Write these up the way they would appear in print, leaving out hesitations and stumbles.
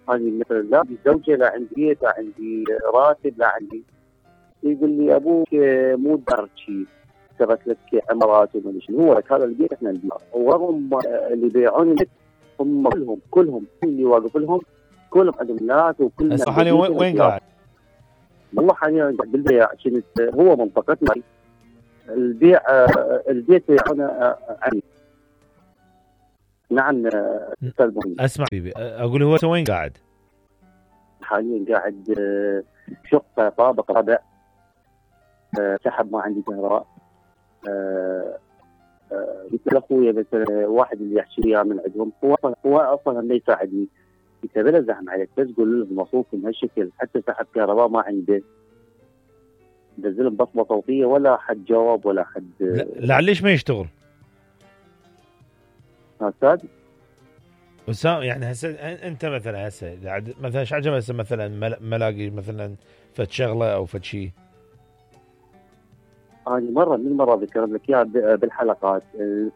هذه مثلا لا عندي زوجه، لا عندي بيت، لا عندي راتب، لا عندي. يقول لي ابوك مو دار شيء، ترك لك عمارات وما شنو، هو لك هذا البيت احنا نبيعه. ورغم اللي يبيعون البيت هم كلهم اللي واقف لهم كلهم عندهم ناس وكلنا. هسه حاليا وين قاعد؟ والله حاليا قاعد بالبيع، كنت هو منطقتنا البيع البيت يبيعونه عني. نعم استاذ مهندس. اسمع بيبي، اقول هو وين قاعد؟ حاليا قاعد شقه طابق رابع، سحب ما عندي كهرباء. قلت لاخويا مثلا واحد اللي يحكي لي من عندهم، هو اصلا ما يساعدني. قلت بلا زحمه عليك، بس قول لهم مصروفكم بهالشكل، حتى سحب كهرباء ما عنده. نزلهم بصمه صوتيه ولا حد جاوب ولا حد. لا ليش ما يشتغل؟ استاذ وسام يعني هسه انت مثلا هسه مثلا ايش عجبك هسه مثلا ملاقي مثلا فد شغله او فد شيء؟ أنا مرة من المرات ذكرت لك إياها بالحلقات،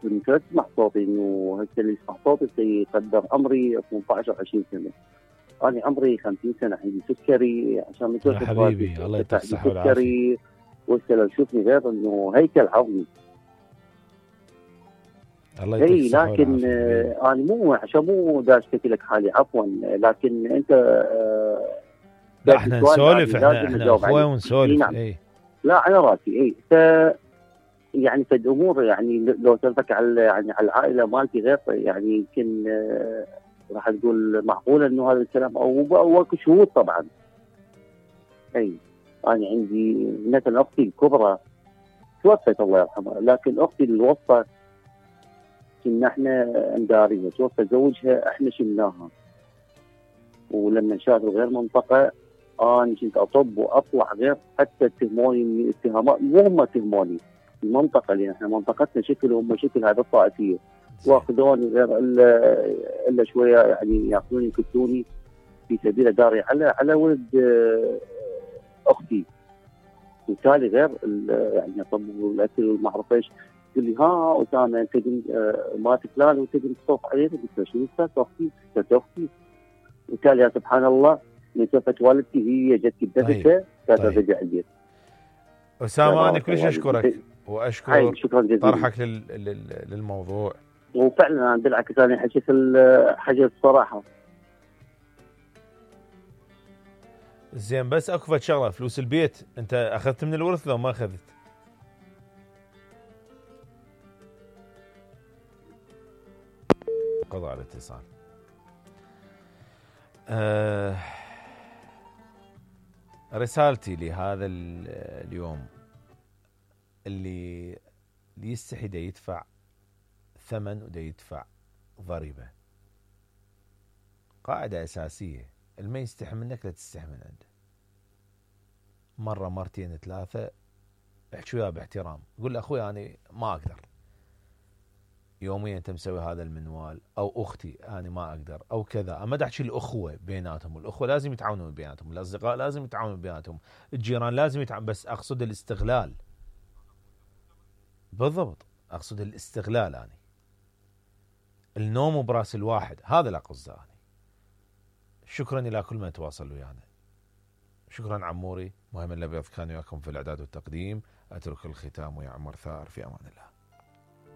يمكن تسمع صوتي إنه هسه اللي يسمع صوتي سيقدر عمري 18 أو 20 سنة. أنا عمري 50 سنة، عندي سكري عشان من يا حبيبي الله يعطيك الصحة والعافية. سكري وهسه لو تشوفني غير إنه هيكل عظمي. الله يعطيك الصحة لكن أنا مو عشان مو دا اشتكي لك حالي عفوا، لكن أنت لا احنا نسولف، احنا اخوة ونسولف. نعم. لا على راسي يعني فد امور، يعني لو سالتك على يعني على العائله مالتي غير يعني يمكن راح تقول معقوله انه هذا الكلام او اكو شهود طبعا. انا عندي مثلا اختي الكبرى توفت الله يرحمها، لكن اختي الوسطى كنا احنا نداريها، توفى زوجها احنا شلناها. ولما شافوا غير منطقه انا كنت اطب واطلع غير، حتى اتهموني من اتهامات مو هم اتهموني، المنطقه اللي احنا منطقتنا شكل وهم شكل، هذا الطائفيه واخذوني غير الا شويه يعني ياخذوني يكتوني في سبيل داري على ولد اختي. وبالتالي غير يعني اطب والاكل وما اعرف ايش. تقول لي ها اسامه انت مالك فلان وتقدر تصوف عليه؟ قلت له شنو اختي؟ وبالتالي يا سبحان الله من توفت والدتي هي جتي بدفتها كانت ترجع البيت. أسامة أنا كلش أشكرك وأشكر طرحك للموضوع. وفعلا أنا بالعكس أنا حكيت الصراحة. زين بس أكو فد شغلة، فلوس البيت أنت أخذت من الورث لو ما أخذت؟ قضاء الاتصال. رسالتي لهذا اليوم اللي يستحي دا يدفع ثمن ودا يدفع ضريبة، قاعدة أساسية، اللي ما يستحي منك لا تستحي من عنده. مرة مرتين ثلاثة احكي وياه باحترام، قول له أخوي أنا ما أقدر يوميا أنت مسوي هذا المنوال، أو أختي أنا ما أقدر، أو كذا. أما تحكي الأخوة بيناتهم، الأخوة لازم يتعاونون بيناتهم، الأصدقاء لازم يتعاونون بيناتهم، الجيران لازم يتعاونون، بس أقصد الاستغلال. بالضبط أقصد الاستغلال. أنا النوم براس الواحد هذا لا قصده. أنا شكرا إلى كل من تواصل ويانا. شكرا عموري. مهم الأبيض كان وياكم في الإعداد والتقديم. أترك الختام ويا عمر ثار في أمان الله.